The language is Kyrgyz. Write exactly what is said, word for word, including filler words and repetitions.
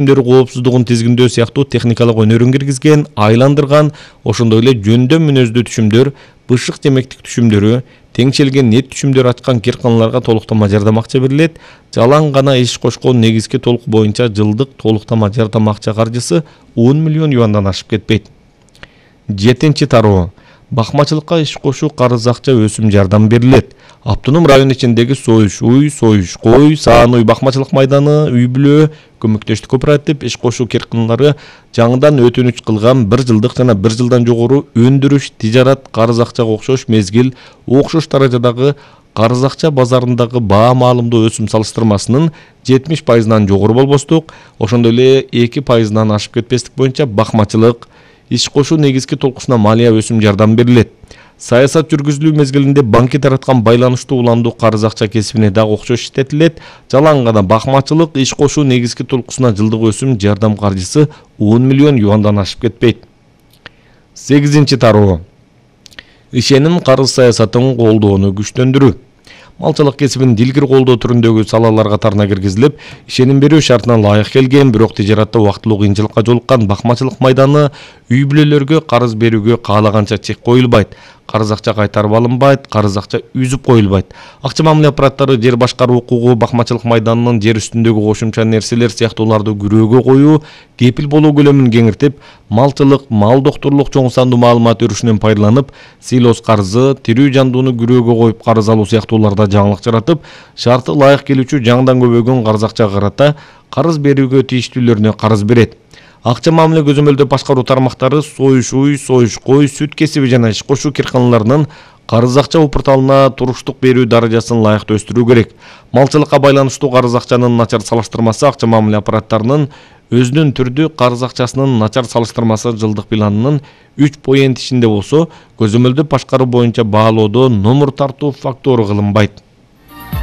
түшүмдөр коопсуздугун тизгиндөө сыяктуу техникалык өнөрүн киргизген, айландырган, ошондой эле жөндөм мүнөздүү түшүмдөр, бышык жемектик түшүмдөрү, теңшелген нет түшүмдөр ачкан кирканаларга толуктама жардам акча берилет. Жалаң гана иш кошкон негизги толук боюнча жылдык толуктама жардам акча каржысы он миллион юандан ашып кетпейт. Жетинчи тароо. Бакмачылыкка иш кошуу карыз акча өсүм жардам берилет. Автоном район ичиндеги Союш уй, Союш кой, Саан уй бакмачылык майданы, үй бүлө, көмөктөштүк кооператив иш кошуу кирканалары жаңыдан өтүнүч кылган бир жылдык жана бир жылдан жогору өндүрүш, тижарат карыз акчага окшош мезгил, окшош даражадагы карыз акча базарындагы баа маалымдуу өсүм салыштырмасынын жетимиш пайызынан жогору болбостук, ошондой эле эки пайызынан ашып кетпестик боюнча бакмачылык иш кошуу негизги толкусуна малия өсүм жардам берилет. Саясат жүргүзүлүү мезгилинде банки тараткан байланыштуу уландуу карыз акча кесибине дагы окшош иштетилет. Жалаң гана бакмачылык иш кошуу негизги толкусуна жылдык өсүм жардам каржысы он миллион юандан ашып кетпейт. Сегизинчи тароо. Ишеним карыз саясатын колдоону күчтөндүрүү. Малчылык кесибин дилгир колдоо түрүндөгү салалар катарына киргизилип, ишеним берүү шартына ылайык келген, бирок тижаратта убактылуу кыйынчылыкка жолуккан бакмачылык майданы үй бүлөлөргө карыз берүүгө каалаганча чек коюлбайт. Карыз акча кайтарып алынбайт, карыз акча үзүп коюлбайт. Акча мамиле аппараттары жер башкаруу укугу, бакмачылык майданынын жер үстүндөгү кошумча нерселер сыяктууларды күрөөгө коюу, кепил болуу көлөмүн кеңиртип, малчылык, мал доктурлук чоң сандуу маалымат өрүшүнөн пайдаланып, силос карызы, тирүү жандууну күрөөгө коюп карыз алуу сыяктууларда жаңылык жаратып, шарты ылайык келүүчү жаңыдан көбөйгөн карыз акчага карата карыз берүүгө тийиштүүлөрүнө карыз берет. Акча мамиле көзөмөлдөө башкаруу тармактары Союш уй, Союш кой, сүт кесиби жана иш кошуу кирканаларынын карыз акча порталына туруштук берүү даражасын ылайыктуу өстүрүү керек. Малчылыкка байланыштуу карыз акчанын начар салыштырмасы акча мамиле аппараттарынын өзүнүн түрдүү карыз акчасынын начар салыштырмасы жылдык планынын үч поент ишинде болсо, көзөмөлдөө башкаруу боюнча баалоодо номер тартуу фактору кылынбайт.